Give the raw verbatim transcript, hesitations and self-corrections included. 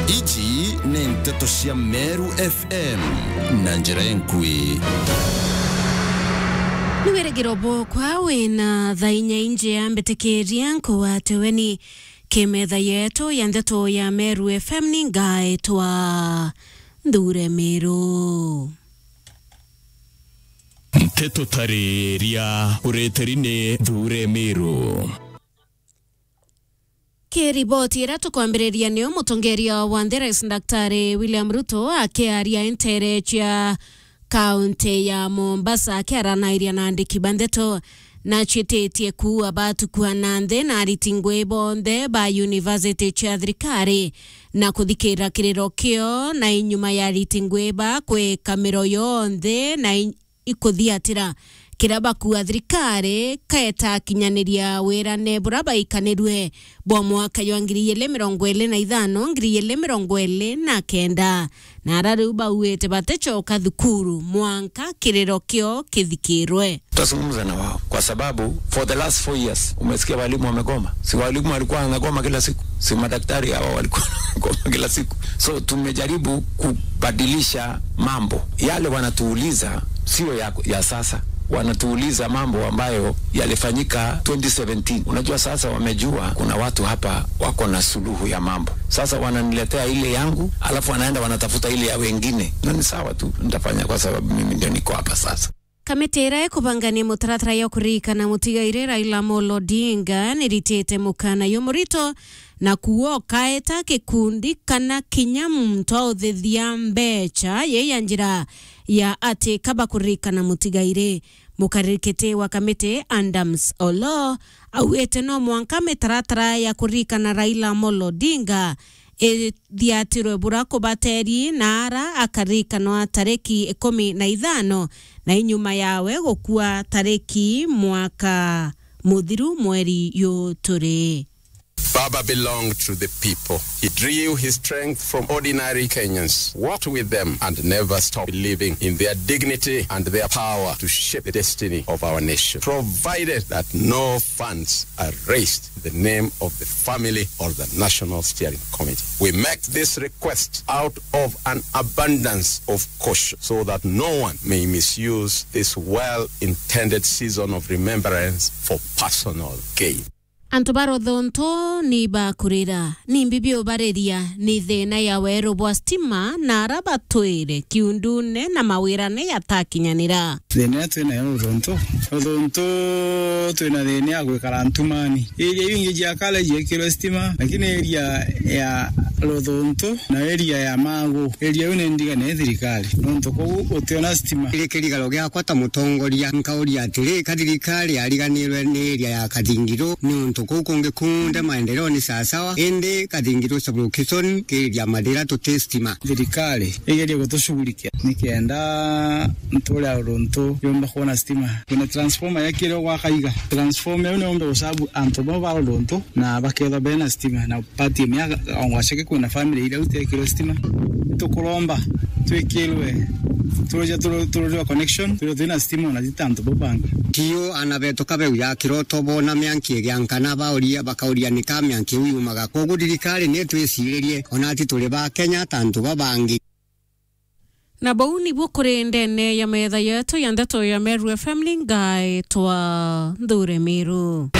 Iji ni nteto cia Meru F M na njira enkui. Ni wirigiro bwokwa wina thaa inya injea mbitikiria nkugwate weni ki metha yetu ya nteto ya Meru F M ni ngaetwa Nthure Miru. Nteto tariria ureteri ni Nthure Miru. Ki riboti iria tukwambiriria niyo mutongeria wa nthi Rais Daktari William Ruto akiaria ntere cia kaunti ya Mombasa akiaranairia na andiki ba ndeto na cititie kuua batukua na nthi na ariti ngui bonthe ba university cia thirikari na kuthikira kiriro kio na inyuma ya ariti ngui ba kwika miro yonthe na i- ikuthiatira kiria bakua thirikari kaeta akinyaniria wirane bura baikanirue bwa mwaka jwa ngiri igiri mirongo iri na ithano, ngiri igiri mirongo iri na kenda. Na ara riu bauite baticoka thukuru mwanka kiriro kio kithikirwe. Tutazungumza na wao kwa sababu for the last four years umesikia walimu wamegoma. Si walimu walikuwa wanagoma kila siku? Si madaktari hawa walikuwa wanagoma kila siku? So tumejaribu kubadilisha mambo. Yale wanatuuliza sio ya, ya sasa. Wanatuuliza mambo ambayo yalifanyika twenty seventeen. Unajua, sasa wamejua kuna watu hapa wako na suluhu ya mambo. Sasa wananiletea ile yangu, alafu wanaenda wanatafuta ile ya wengine. Na ni sawa tu, nitafanya kwa sababu mimi ndio niko hapa sasa. Kamiti iria ikubangania mutaratara ya kuririkana mutigairi Raila Amolo Odinga niritite mukana jumurito na kuuga ukaeta gikundi kana kinya muntu authithia mbeca yei ya njira ya ati kaba kuririkana mutigairi. Mukariri kiti wa kamiti Adams Oloo augite no mwanka mitaratara ya kuririkana Raila Amolo Odinga ithiatirwe bura kubateri na ara akaririkanwa tariki ikumi na ithano na inyuma yawe gukua tariki mwaka muthiru mweri yu turi. Baba belonged to the people. He drew his strength from ordinary Kenyans, walked with them, and never stopped believing in their dignity and their power to shape the destiny of our nation, provided that no funds are raised in the name of the family or the National Steering Committee. We make this request out of an abundance of caution so that no one may misuse this well-intended season of remembrance for personal gain. Antu ba Ruthuntu ni bakurira, ni mbibi ubariria, ni thina ya weru bwa stima na ara batwire kiundune na mawirane yatakinyanira. Thina iria twinayo Ruthuntu, Ruthuntu twina thina ya gwikara ntumani. Iria iu ingi cia kale ciekirwe stima, lakini iria ya Ruthuntu na iria ya Magu, iria iu ni ndigane ni thirikari, nontu kuu gutiona stima. Kiri kirigaro giakwa ta mutongoria, nkauria atiri, ka thirikari yariganirwe ni iria ya Kathingiru, niuntu kuu kungi kunthe maendeleo ni sawasawa, indi Kathingiru sub-location kiri iria mathira tuti stima. Thirikari igerie gutushughulikia nikenda ntuure Ruthuntu yumba kwona stima. Kwina transformer yakirwe gwa Kaiga. Transformer iu niumbe gusabu antu bau ba Ruthuntu na bakethwa bena stima na pati imwe ya Ongwaceke kwina family iria utekirwe stima. Tukuromba twikirwe turuja turu-, tururirwa connection, twirwe twina stima ona ti ta antu bau bangi. Kiu ana betu kabeu ya kiroto bona mianki igiankana bauria, bakauria ni ka mianki iu yumaga. Koguo thirikari ni twiciririe, ona ati turi ba Kenya ta antu babangi. Na bau nibuo kuri ndene ya metha yetu ya ndeto ya Meru F M, ni ngaetwa Nthure Miru.